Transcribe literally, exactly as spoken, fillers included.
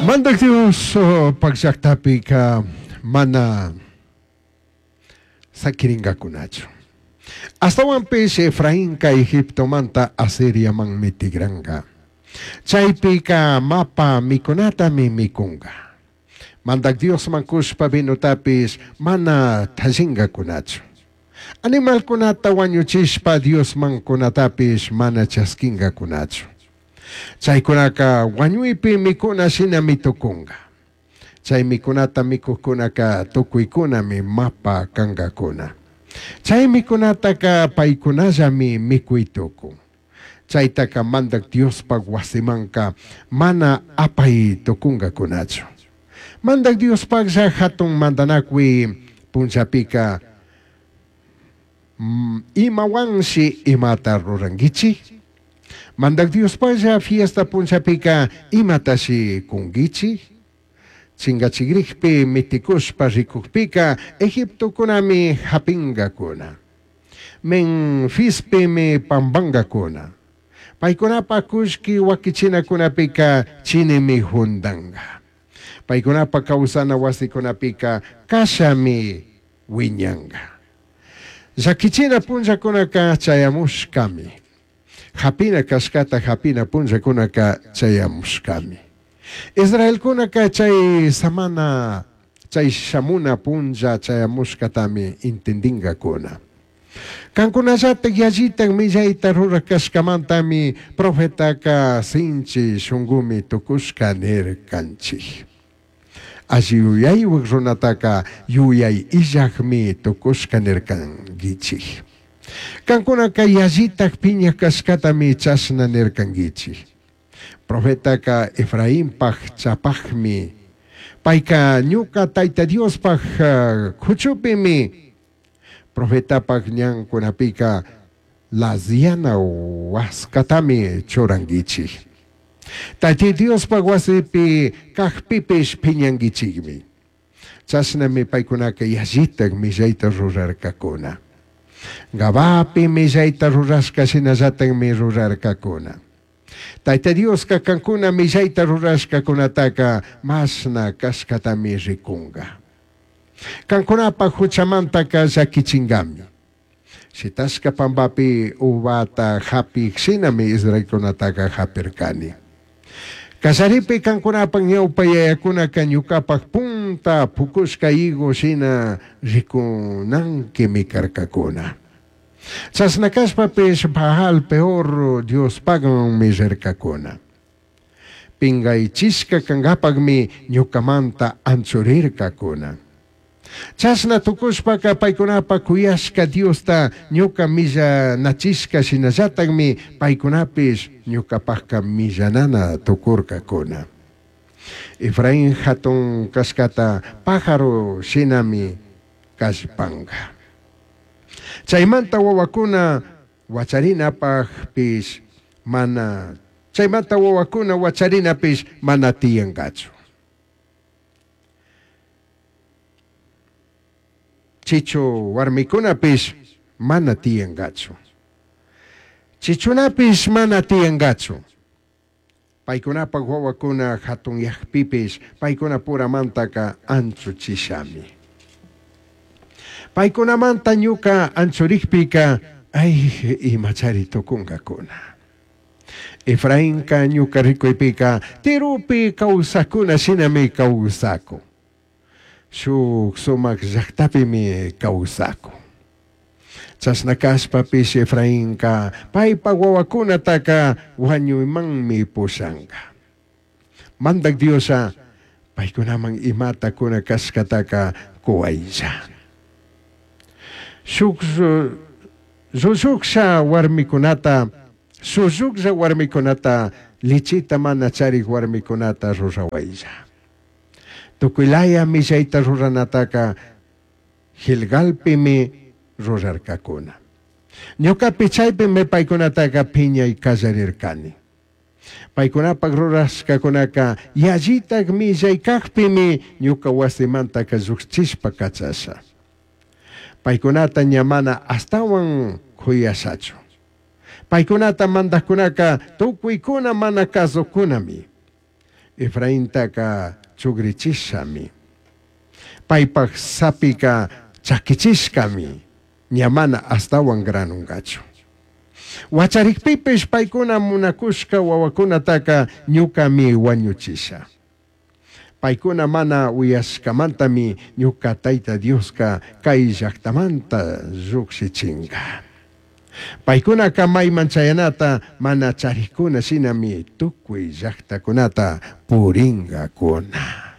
Mandaj Dios pak llajtapika mana saquiringacunachu. Ashtahuanpish Efrainca Egiptomanta Asiriamanmi tigranga. Chaipica mapa micunatami micunga. Mandaj Diosman cushpa vinotapish mana tallingacunachu. Animalcunata huañuchishpa Diosman cunatapish mana chasquingacunachu. Chaicunaca huañuipi micuna shinami tucunga. Chai micunata micujcunaca tucuicunami mapa cangacuna. Chai micunataca paicunallami micui tucun. Chaitaca Mandaj Diospaj huasimanca mana apai tucungacunachu. Mandaj Diospajlla jatun mandanacui punllapica imahuanshi imata ruranguichij? Mandaj Diospajlla fiesta punllapica imatashi cunguichij? Chingachigrijpi miticushpa ricujpica Egiptocunami japingacuna. Menfispimi pambangacuna. Paicunapa cullqui huaquichinacunapika chinimi jundanga. Paicunapa causana huasicunapika cashami huiñanga. Llaquichina punllacunaca chayamushcami. Japina cashcata japina punllacunaca chayamushcami. Israelcunaca chay samana, chay shamuna punlla chayamushcatami intindingacuna. Cancunallataj yallitaj millaita ruraj cashcamantami profetaca sinchi shungumi tucushca nircanchij. Alli yuyaihuaj runataca yuyai illajmi tucushca nircanguichij. Cancunaca yallitaj piñaj cashcatami chashna nircanguichij. Profetaca Efrainpaj chapajmi, paica ñuca Taita Diospaj cuchupimi, profetapaj ñancunapica laziana huascatami churanguichij. Taita Diospaj huasipi cajpipish piñanguichijmi. Chashnami paicunaca yallitaj millaita rurarcacuna. Gabapi millaita rurashca shinallatajmi rurarcacuna. Taita Diosca cancuna millaita rurashcacunataca mashna cashcatami ricunga. Cancunapaj juchamantaca llaquichingami. Shitashca pambapi uvata japij shinami israelcunataca japircani. Callaripi cancunapaj ñaupa yayacunaca ñucapaj punta pucushca higo shina ricunanquimi carcacuna. Chashna cashpapish Baal Peor Diospajmanmi rircacuna. Pingaichishca cangapajmi ñucamanta anchurircacuna. Chashna tucushpaca paicunapaj cuyashca Diosta ñuca millanachishca shinallatajmi paicunapish ñucapajca millanana tucurcacuna. Efraín jatun cashcata pájaro shinami callpanga. Chaymanta wawakuna huacharinapajpish mana, chaymanta wawakuna huacharinapish mana tiyangachu. Chichu warmikunapish mana tiyangachu. Chichunapish mana tiyangachu. Paykunapaj wawakuna jatunyajpipish paykunapuramantaka anchuchishami. Paykunamanta ñuka anchurikpika ay imachari tukunkakuna. Efrainka ñuka rikuypika Tiropi kawsakuna shinami kawsakun. Shuk sumak llaktapimi kawsakun. Chashna kashpapish Efrainka paypa wawakunataka wañuymanmi pushanka. Mandak Diosa paykunaman imata kuna kashkataka kuwaylla. Shuk llulluklla warmikunata, shulluklla warmikunata, lichita mana charik warmikunata rurawaylla. Tukuylaya millayta ruranataka Gilgalpimi rurarkakuna. Ñukapi chaypimi paykunataka piñay kallarirkani. Paykunapaj rurashkakunaka yallitaj millay kajpimi ñuka wasimantaka llukchishpa kachasha. Paykunata ña mana ashtawan kuyashachu. Paykunata mandajkunaka tukuykuna mana kasukunami. Efraintaca chugrichishami. Paipaj sapica chaquichishcami, ña mana ashtahuan granungachu. Huacharicpipish paicuna munacushca huahuacunataca ñucami huañuchisha. Paicuna mana uyashcamantami ñuca Taita Diosca cai llajtamanta llujshichinga. Paicunaca maiman chayanata mana charijcuna shinami tucui llajtacunata puringacuna.